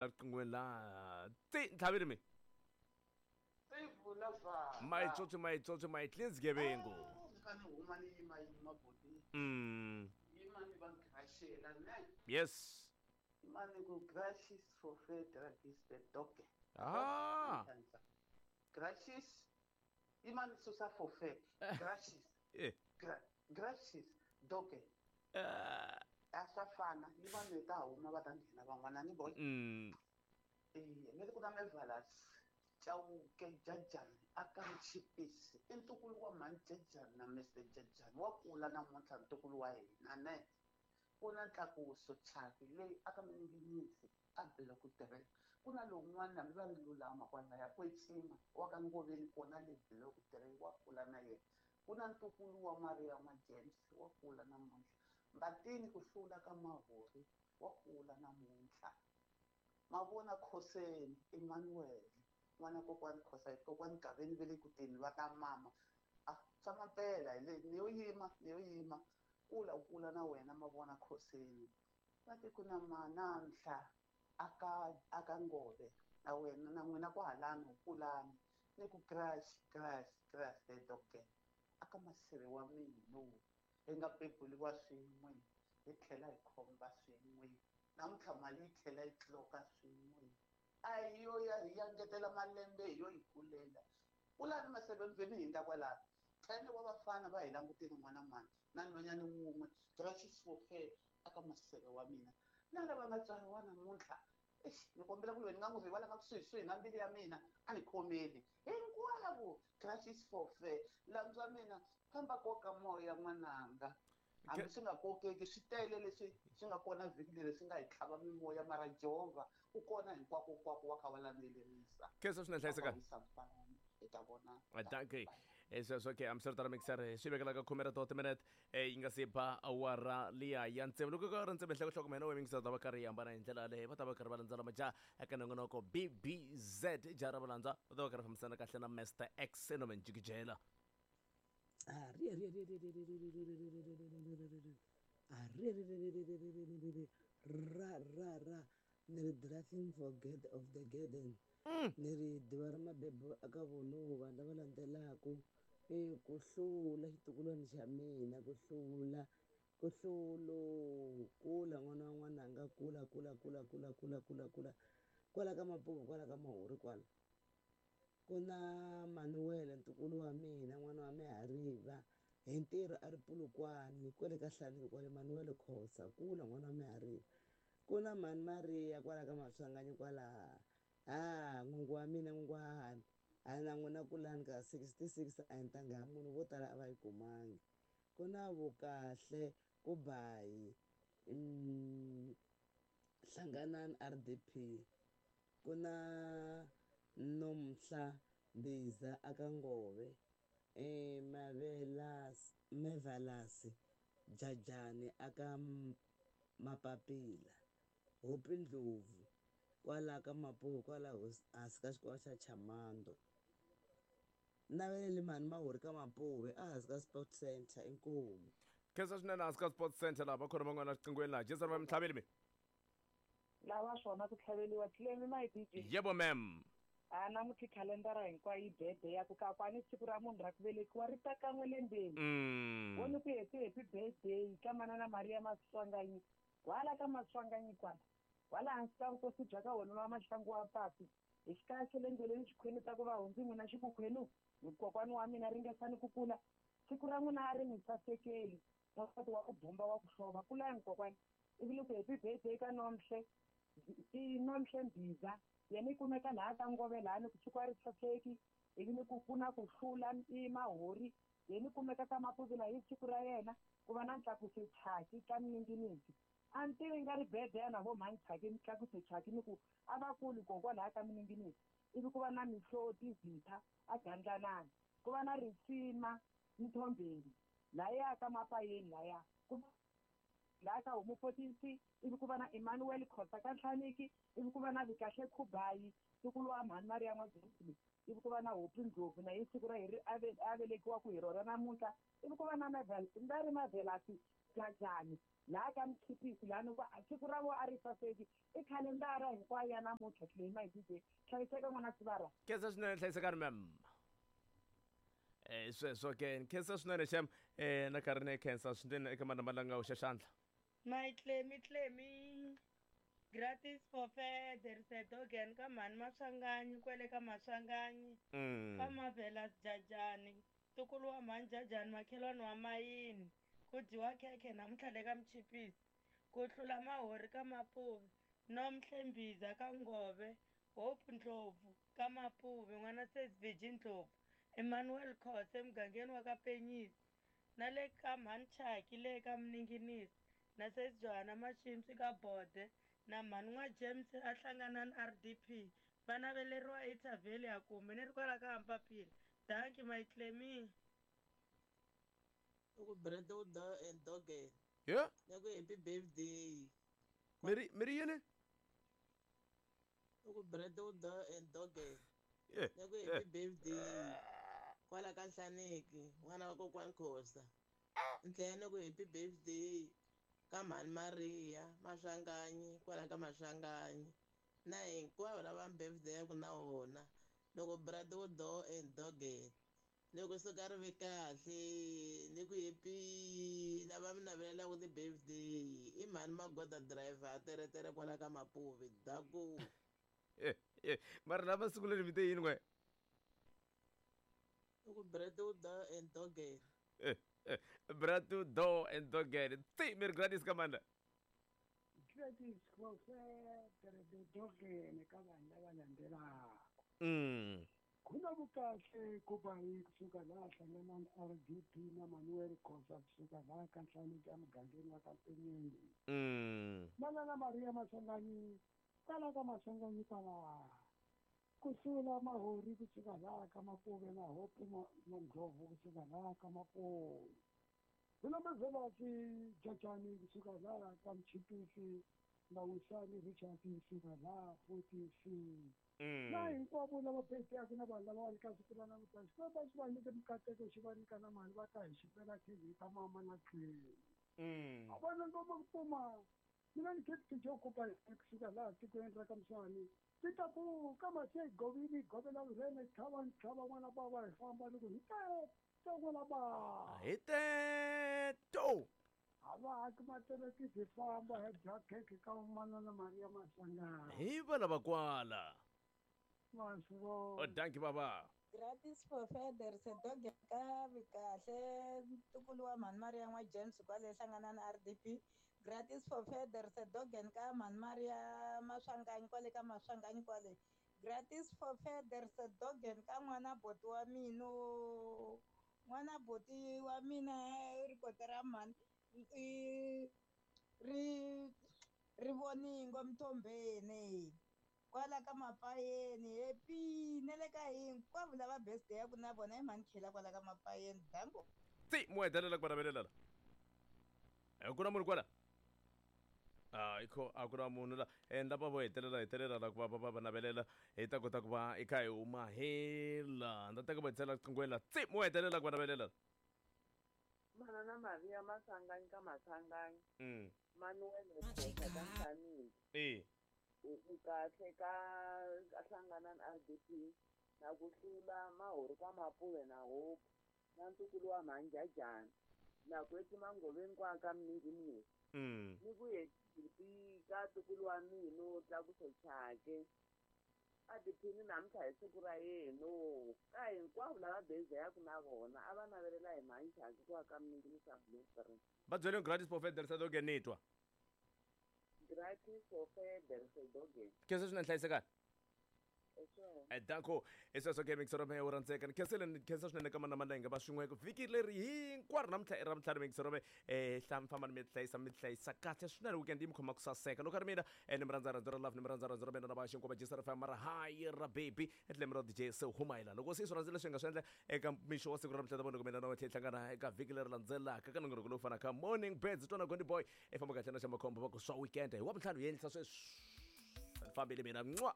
Riqingweni la ti ntlhavini mi Sivula vhaka. Mayitsotsi mayitsotsi mayiclean sgebengu. Ni fanele huma ni yima yima boti. Yima ni va grashela ne. Yes. Yima ni ku grashes for federal is the dog. Ah. Grashes yima ni susa for fair. Grashes. Eh. Grashes dog. A swa fana ni vanhu hi ta huma va ta nghena van'wana ni boy. Eh, ni ri ku na Mevalas Chauke Jajani aka Mchipisi i ntukulu wa mhani Jajani na Mr Jajani wa kula namuntlha ntukulu wa hina ne ku na Ntlakuso Chaki leyi aka Minginisi a block 3 ku na lowun'wana hambi va ri lulama kwalaya Kwetsima wa ka Ngoveni kona le block 3 wa kula na yena ku na ntukulu wa Maria n'wa James wa kula namuntlha Mbatini ku hlula ka Mahori wa kula namuntlha Mavona Khoseni Emmanuel n'wana kokwani Khosa kokwani Gaveni ve le ku teni va ka mama a swa mampela hi le ni yo yima ni yo yima kula u kula na wena Mavona Khoseni va te ku na manamhla aka aka Ngove na wena na n'wina kwahalano kulani ni ku crash crash crash the doctor aka maseve wa mina hi nga beburiwa swin'we hi tlhela hi khomba swin'we namuntlha mali yi tlhela yi tloka swin'we a hi yo ya hi ya ngetela malembe hi yo yi kulela kulani maseve mveni hindza kwalano tlhelo wa vafana va hi langutile n'wana mani na nhwanyana wun'we gracious for her aka maseve wa mina na lava nga tswariwa namuntlha eish ni kombela ku loyi ni nga n'wi rivalanga kusuhisuhi na mbilu ya mina a ni khomeli hinkwavo gracious for fair landzwa mina famba koka moya n'wananga hambi swi nga kokeki swi tele leswi swi nga kona vhiki leri swi nga hi tlhava mimoya mara Jehovha u kona hinkwako kwako wa kha wa landzelerisa. Khensa swinene hlayisekani. Hi ta vona. Dankie. Sweswo ke hambiswiritano mixer swi vekela ka khume ra to timinete yi nga se ba awara liya ya ntsevu loko ka ri ntsevu nhlokohloko mina we mixer ta va karhi yi hambana hi ndlela yaleyo va ta va karhi va landzela majaha eka nongonoko bbz jaha ra valandza va ta va karhi fambisana kahle na master x enomen jikijela. Ra ra ra ni ri nothing forget of the garden ni ri ḓuvha ra mabebo aka vhonouva lava landzelaka i ku hlula xitukulwana xa mina ku hlula ku hlulo kula n'wana wa n'wananga kula kula kula kula kula kula kula kwala ka mapuku kwala ka mahuri kwala ku na Manuel ntukulu wa mina n'wana wa Mihariva hi ntirho a ri Polokwane kwale ka Hlaneki kwale Manuel Khosa kula n'wana wa Mihariva ku na mhani Maria kwala ka Maswanganyi kwala ha n'wingi wa mina n'wingi wa hahani a na n'wina kulani ka 66 a hi ntangha ya munhu vo tala a va yi kumangi ku na Vukahle Kubayi Hlanganani RDP ku na Nomhla Mbiza aka Ngove Mavelasi Jajani aka Mapapila Hopi Ndlovu kwala ka Mapuwe kwala hansi ka xikolo xa Chamando Naveleli mhani Mahuri ka Mapuwe ehansi ka Sport Center inkomu. Khensa swinene hansi ka Sport Center laha va khona van'wana riqingweni laha Jesu va mi mi lava swona ku tlhaveliwa tlemi my DJ yebo ma'am a namuntlha khalendara hinkwayo yi bede ya ku kakwani siku ra munhu ra ku velekiwa ri ta kan'we lembeni wo ni ku happy happy birthday ka manana Maria Maswanganyi wala ka Maswanganyi kwala wala hansi ka vukosi bya ka wona wa Mahlangu wa Papi hi xikaya xa le ndleleni xikhweni ta ku va hundzi n'wina xikukhwenu kokwani wa mina ringesani ku kula siku ra n'wina a ri mi sasekeli wansati wa ku bomba wa ku hlova kulani kokwani ivi ni ku happy birthday ka Nomhle i Nomhle Mbiza yena i kumeka laha ka Ngove laha ni ku siku a ri saseki ivi ni ku ku na ku hlula i Mahori yena i kumeka ka Mapuvila hi siku ra yena ku va na Ntlakuse Chaki ka Mninginisi a ni tivi nga ri birthday ya na vo mhani Chaki Ntlakuse Chaki ni ku a va kuli kokwa laha ka Mninginisi ivi ku va na Mihloti Zitha a Gandlanani ku va na Risima Mthombeni laya ka Mapayeni laya ku laha ka Homu 14C ivi ku va na Emmanuel Khosa ka Nhlaniki ivi ku va na Vikahle Khubayi ntukulu wa mhani Maria N'wa-James ivi ku va na Hopi Ndlovu na ye siku ra hi ri a velekiwa ku hi rona namuntlha ivi ku va na nga ri Mavelasi Jajani laha ka Mchipisi laha va siku ra vo a ri saseki i khalendara hinkwayo ya namuntlha Clay my DJ hlayiseka n'wana sivara. Khensa swinene hlayisekani ma'am. Sweswo ke khensa swinene xem na karhi ni khensa swinene eka manamba la nga hoxa xandla. My Clemmy Clemmy gratis for fair there is a dog and ka mhani Maswanganyi kwele ka Maswanganyi ka Marvelous Jajani ntukulu wa mhani Jajani makhelwani wa mayini ku dyiwa khekhe namuntlha le ka Mchipisi ku hlula mahori ka Mapuve Nomhle Mbiza ka Ngove Hope Ndlovu ka Mapuve n'wana Sesi Virgin Ndlovu Emmanuel Khose emugangeni wa ka Penyisi na le ka mhani Chaki le ka Mninginisi na Sesi Johanna Mashimpsi ka Bode na mhani n'wa James a hlangana na RDP va naveleriwa eThavheli ya kumbe ni ri kwala ka Ampapila dankie my Clemmy. Ku bread u do and dog Yeah. Na ku happy birthday. Miri miri yini? Ku bread u do and dog. Na ku happy birthday. Kwala ka Nhlaneki, n'wana wa kokwani Khosa. Ndlela na ku happy birthday ka mhani Maria Maswanganyi kwala ka Maswanganyi. Na hinkwavo lava birthday ya ku na vona. Loko bread u do and dog. Loko suka ri ve kahle ni ku happy lava mi navelelaka ti-birthday i mhani Magoda driver a teretere kwala ka Mapuve daku. Mara lava siku leri mi te yini n'we? Ku bread u do and dog. Bread u do and dog. Ti mi ri gratis ka manda. Gratis for fair dog ka vanhu lava landzelaka. Kuna vukahle ku va hi kusuka laha hlangana na RDP na Manuel Khosa kusuka laha ka Nhlaneki emugangeni wa ka Mpenyeni. Manana Maria Maswanganyi kwala ka Maswanganyi kwala. Ku hlula Mahori kusuka laha ka Mapuve na Hope Ndlovu kusuka laha ka Mapuve. Kuna Mazelasi Jajani kusuka laha ka Mchipisi na Wisani Richard kusuka laha 46. Na hinkwavo lava birthday na vanhu lava va ri ka siku ra namuntlha Xikwembu xi va nyike mikateko xi va nyika na mali va ta hi xipela TV ta mama na tlhelo. A vona ngoma ku puma mina ni khetiki jo kupa kusuka laha tikweni ra ka Mswani ti ta ku ka mase govini govela vurhene tlhava tlhava n'wana bava hi famba loko hi ta n'wana bava hi teto a va haki materekisi hi famba hi dya khekhe ka manana Maria Maswanganyi hi va lava kwala. Oh, dankie baba. Gratis for fair there is a dog ka vikahle ntukulu wa mhani Maria n'wa James kwale hlangana na RDP. Gratis for fair there is a dog ka mhani Maria Maswanganyi kwale ka Maswanganyi kwale. Gratis for fair there is a dog ka n'wana boti wa mina. N'wana boti wa mina ri kota ra mhani ri ri voningo Mthombeni. Kwala ka Mapayeni happy na le ka hinkwavo lava birthday ya ku na vona i mhani Khela kwala ka Mapayeni danko. Ti mo hetelela ku va la. Ku na munhu kwala? Ikho a ku na munhu la. Lava vo hetelela la ku va va navelela hi ta kota ku va i kha hi huma hela. Nda teka va hetelela qingweni la. Ti mo hetelela ku va navelela. Manana Maria Maswanganyi ka Maswanganyi. Manuel Khosa ka Nhlaneki. Kahle ka hlangana na RDP na ku hlula Mahori ka Mapuve na Hope na ntukulu wa mhani Jajani na ku Mangoveni kwa ka Mninginisi ni ku happy ka ntukulu wa mina Tlakuso Chake a tiphini namuntlha hi siku ra yena ka hinkwavo lava birthday ya ku na vona a va navelela hi mhani Chake kwa ka Mninginisi a Bloemfontein. Va byele gratis for fair there is a dog ni twa. Gratis for fair there is a dog. Khensa swinene hlayisekani. Danko i sweswo ke mixero me u rhandzeka ni khensele ni khensa swinene ka manamana hi nga va swin'we vhiki leri hinkwaro namuntlha i ravutlhanu mixero me famba ni mi hlayisa kahle swinene weekend yi mi khoma ku saseka loko a ri mina ni mi rhandza rhandzu ra love ni mi rhandza rhandzu ra mina na va xinkwa va jisa ra mara hayi ra baby etlhelo ra DJ se humayela loko se swi rhandzile leswi hi nga swi endla eka mixo wa siku ra namuntlha ta vona ku mina na wena hi hlangana eka vhiki leri landzelaka ka nongonoko lowu fanaka morning birds twana Gondi boy i famba kahle na xa makhombo va ku swa weekend hi wa vutlhanu hi endlisa sweswi ni fambile mina mwa.